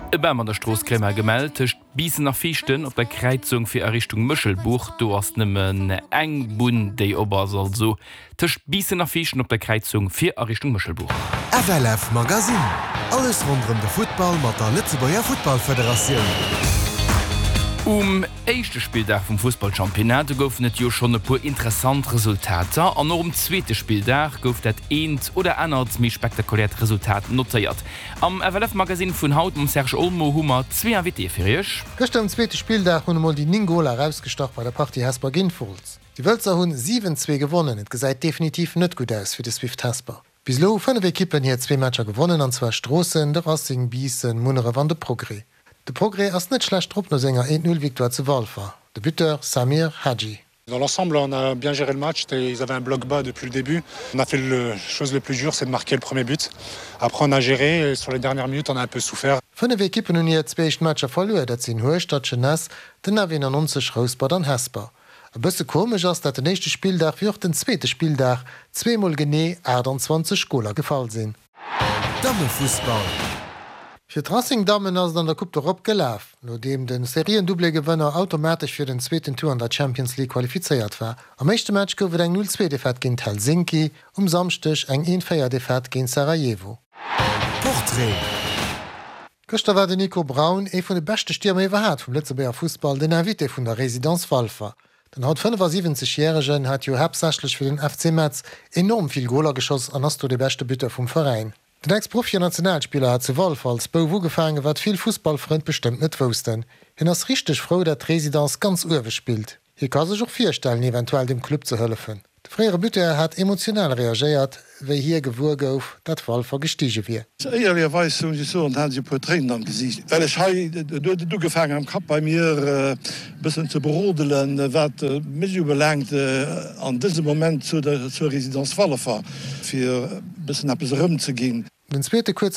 E Bam an der Strooss Grémar gemellt, tëscht Biissen a Viichten op der Kräizung fir a Richtung Méchelbuch. Do ass nëmmen eng Bunn déi op ass, also tëscht Biissen a Viichten op der Kräizung fir a Richtung Méchelbuch. FLF Magazine, Alles ronderëm de Futtball mat der Lëtzebuerger Futtballfederatioun. Um éischte Spilldag vum Fussballchampionnat, do goufen et jo schonn e puer interessant Resultater an och um zweete Spilldag gouf dat eent oder anert méi spektakuläert Resultat notéiert. Am FLF Magazine vun haut mam Serge Olmo hu mer zwee Invitéë fir iech. Gëschter um zweete Spilldag hunn emol déi 9 Goler erausgestach bei der Partie Hesper géint Wolz. Déi Wëlzer hunn 7, 2 gewonnen. Et gesäit definitiv net gutt aus fir de Swift Hesper. Bis elo hu 5 Ekippen hir zwee Matcher gewonnen an zwar Stroossen, de Racing, Biissen, Munneref an de Progrès. De Progrès ass net schlecht drop no senger 1, 0 Victoire zu Walfer. De Buteur Samir Hadji. Dans l'ensemble, on a bien géré le match et ils avaient un bloc bas depuis le début. On a fait le chose le plus dur, c'est de marquer le premier but. Après on a géré et sur les dernières minutes on a un peu souffert. Fënnef Ekippen hunn hir zwee éischt Matcher verluer, dat sinn Hueschtert, Jeunesse, den F91, Rouspert an Hesper. E bësse komesch ass, dat den éischte Spilldag wéi och den zweete Spilldag zweemol genee 28 Goler gefall sinn. Dammefussball. Fir d'Racing-Dammen ass et an der Coupe d'Europe gelaf, nodeem de Serien-Doublé-Gewënner automatesch fir den zweeten Tour an der Champions League qualifizéiert war. Am éischte Match gouf et eng 0, 2 Defaite géint Helsinki, um Samschdeg eng 1, 4 Defaite géint Sarajevo. Portrait. Gëschter war den Nico Braun, ee vun de beschte Stiermer iwwerhaat vum Lëtzebuerger Fussball, den Invité vun der Résidence Walfer. Den haut 75 Järegen hat jo haaptsächlech fir den FC Metz enorm vill Goler geschoss an ass do de beschte Buteur vum Veräin. Den Ex-Profi an Nationalspiller hat zu Walfer als Bouf ugefaangen, wat vill Fussballfrënn bestëmmt net woussten. Hien ass richteg frou, dat d'Résidence ganz uewe spillt. Hie ka sech och virstellen, eventuell dem Club ze hëllefen. De fréiere Buteur hat emotional reagéiert, wéi hie gewuer gouf, dat Walfer gestige wier. Éierlecherweis muss ech soen, hat ech e puer Tréinen am Gesiicht, well ech hei, et huet et ugefaangen am Kapp bei mir e bëssen ze brodelen, wat mech ubelaangt an dësem Moment zur Résidence Walfer, fir e bëssen eppes erëmzeginn. Den zweete kuerze.